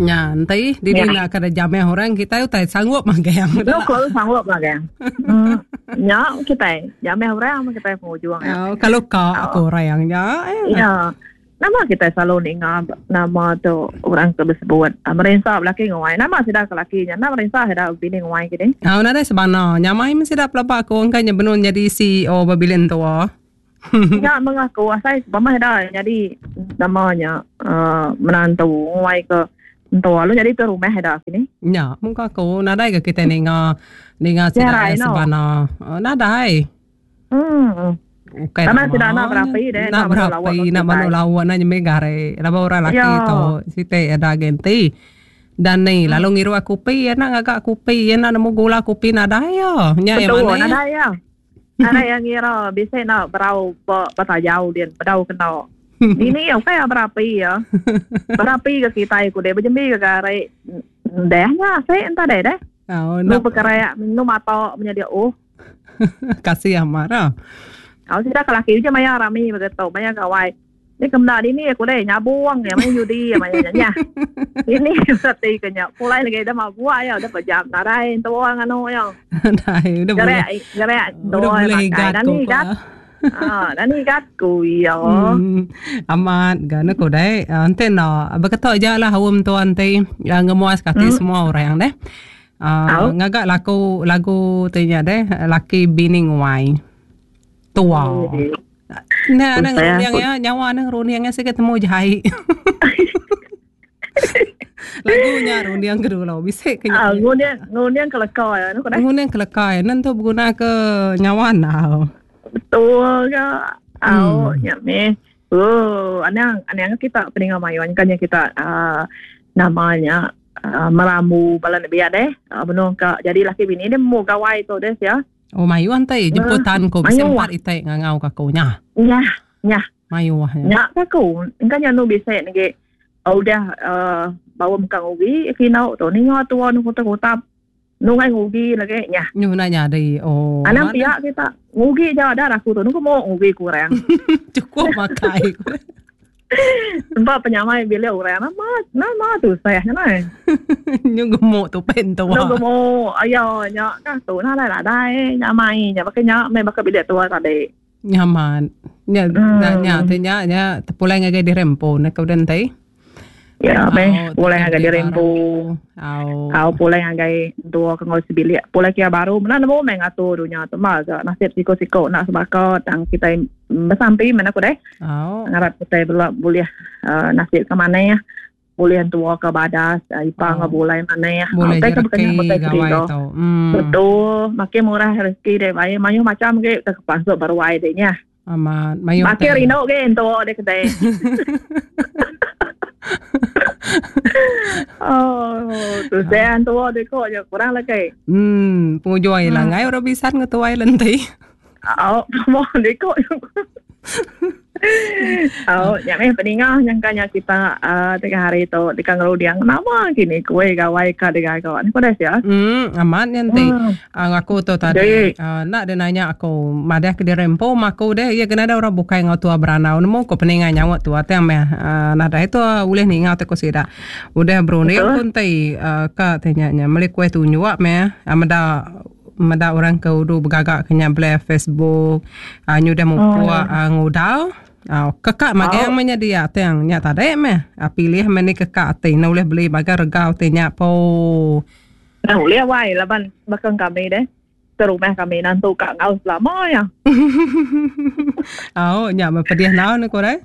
Nya enti dini enda kada jamah orang kitai utai sanggup magang. Nu ko sanggup magang. Hmm. Nya kitai jamah orang meh kitai pengujung ya. Oh, kalau ka aku orang nya. Ya. Nama kitai selalu ninga nama tu orang ke besebut merinsa belaki nguai. Nama sida ke laki nya enda merinsa sida bini nguai kini. Au nadai sebana. Nyamai meh sida pelaba aku engka nya benung nyadi CEO ba bilik entua. Nya meng aku asai pemah ida nyadi nama nya uhh menantu nguai ke entua lalu nyadi tuai rumah ida kini. Nya mung ku aku nadai ga kitai ninga ninga sida iya sebana nadai. Uhh. Ukai nama sida enda berapi deh enda berapi enda manu lawa enda nyemih gari laban orang laki tu siti ada genti. Dani lalu ngirup kopi enda ngaga kopi enda nemu gula kopi nadai iya. Nya iya manah. Nadai iya. Nadai iya ngira bisi enda berau ba tajau din bedau kena. Dini iya ukai iya berapi iya. Berapi ke kitai ku deh bejembi ke gari deh nya asi enta deh deh. Oh, nu bekerak nu mata menyadi oh. Kasih amat ah. Au sida ke laki uji maya rami begitu maya gawai. Ni ke meda dini aku deh nyabung iya maya judi iya maya nya nyah. Dini reti ke nya pulai lagi dah mabuk iya udah pejam nadai entua nganu iya. Nadai udah boleh. Gerak entua iya makai dani gat. Ha dani gat ku iya. Hmm amat ga ne ku deh enti enda beketo aja lah aum tua enti ngemuas ke ati semua orang deh. Aaa ngaga laku lagu ti nya deh laki bini nguai. Tua. Nah, nang runding ya, nyawa nang runding ya sigi temu jai. Lagu nya runding ke dulu bisi ke nya. Ah, ngunding ngunding ke leka ya nu kena. Ngunding ke leka ya nentu beguna ke nyawa nau. Betul ga. Au hmm. nya meh. Oh, anang anang kita peninga mayuh kan nya kita uh, namanya uh, merambu bala nembiak deh. Uh, benung ka jadi laki bini dia mu gawai tu deh ya. Oh mayuh enti jemputan ku bisi empat iti ngangau ka aku nya. Nyah, nyah. Mayuh nya. Nya ka aku. Engka nya anu bisi negi udah uhh baum ka ngugi kino tu ninga tua nu kutap-kutap nungai ngugi lagi nyah. Nyu enda nyadi oh. Anang pia kita ngugi ja dah aku tu nunggu mo ngugi kurang. Cukup makai. Empa penyamai bilik orang nama nama tu seh nya nai. Nyu gemuk tu pen tua. Nyu gemuk ayo nya kah tu nadai nadai nyamai nya baka nya meh baka bilik tua tadi. Nyaman. Nya hmm. nya ti nya nya tepulai ngagai diri empu ne ke udah enti. Ya meh pulai ngagai diri empu. Au. Au pulai ngagai entua ke enggau sebilik. Pulai kia baru mena nemu meh ngatur dunya tu mah ga nasib siko-siko enda sebaka tang kitai besampi meh aku deh. Au. Ngarap kitai bela bulih uh, nasib ke manah bulih entua ke badas uh, ipa enggau bulai manah. Bulih uh, rezeki gawai tu. Hmm. Betul, makin murah rezeki deh bai mayuh macam ge ke pasuk baruai deh nya. Amat mayuh Makin rindu ge entua deh kedai. oh, tu saya entua deh ko je kurang lagi. Hmm, pengujung ila ngai orang bisan ngetuai lenti. Au, mau deh ko. Au, nya meh peninga nyangka nya kita uh, tengah hari tu deka ngerunding nama kini kuih gawai ka digaga. Ni ku deh sia. Hmm, amat nya enti. Hmm. Aku tu tadi uh, enda dia nanya aku madah ke diri empu maku deh iya kena ada orang bukai enggau tua berandau nemu ku peninga nyaut tua tang meh uh, nadai tua ulih ninga te ku sida. Udah berunding ku enti uh, ka te nya nya meli kuih tunjuk meh uh, meda meda orang ke udu begaga ke nya bela Facebook uh, nyudah mupuk uh, ngudau uh, keka magang meh nya dia tang nya tadi meh uh, pilih meh ni keka ati ne ulih beli bagai rega ti nya po. Nah ulih wai laban baka kami deh ke rumah kami nantu ka enggau selama ya. Au nya meh pedih nau ne ku deh.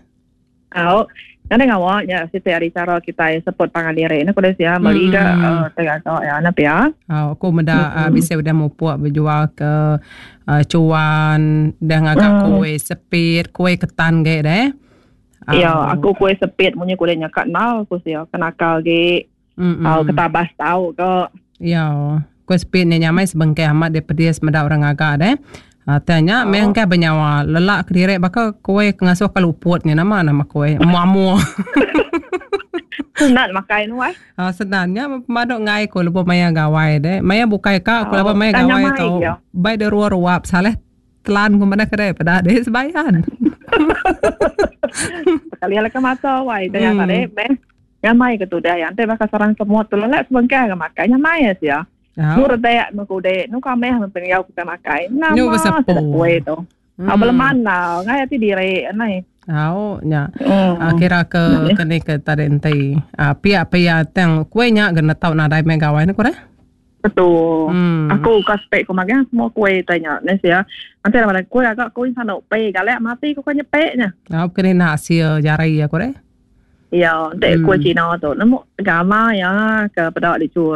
Au. Nadai ngawa nya siti ari chara kitai support pangan diri ne ku deh sia meli ga hmm. tai gaga ya ne pia. Au aku meda hmm. bisi udah mupuk bejual ke uh, cuan dah ngaga hmm. kuih sepit, kuih ketan ge deh. Ya, aku kuih sepit munyi ku deh nya ka nal ku sia kenakal ge. Mm-mm. Au ketabas tau ke. Ya. Kuih sepit nya nyamai sebengkah amat dia pedis meda orang ngaga deh. Tang nya meh engkah benyawa lelak kediri baka kuih ke ngasuh ke luput nya nama nama kuih mua-mua. Senat makai nu ai. Ha senat nya pemadu enggai ku lebuh maya gawai deh. Maya bukai ka ku laban maya gawai tu bai deh ruap-ruap salah telan ku madah kedai peda deh sebayan. Sekali ala ke mata wai tanya tadi meh. Nyamai ke tudah iya. Enti baka sarang semut tu lelak sebengkah ga makai nyamai iya sia. Nu redek nu kudik nu kameh meh pendiau kitai makai. Nama sida kuih tu. Hmm. Beleman lah ngai ati diri nai. Au nya. Kira ke ke ni ke tadi enti. Pia-pia tang kuih nya ga netau nadai meh gawai ne ku deh. Betul. Aku ka spek ku magang semua kuih tai nya ne sia. Enti nama kuih agak kuih sanu pe galak mati ku ka nyepek nya. Au ke ni nak sia jari aku deh. Iya, enti kuih Cina tu nemu gama iya ke peda dichur.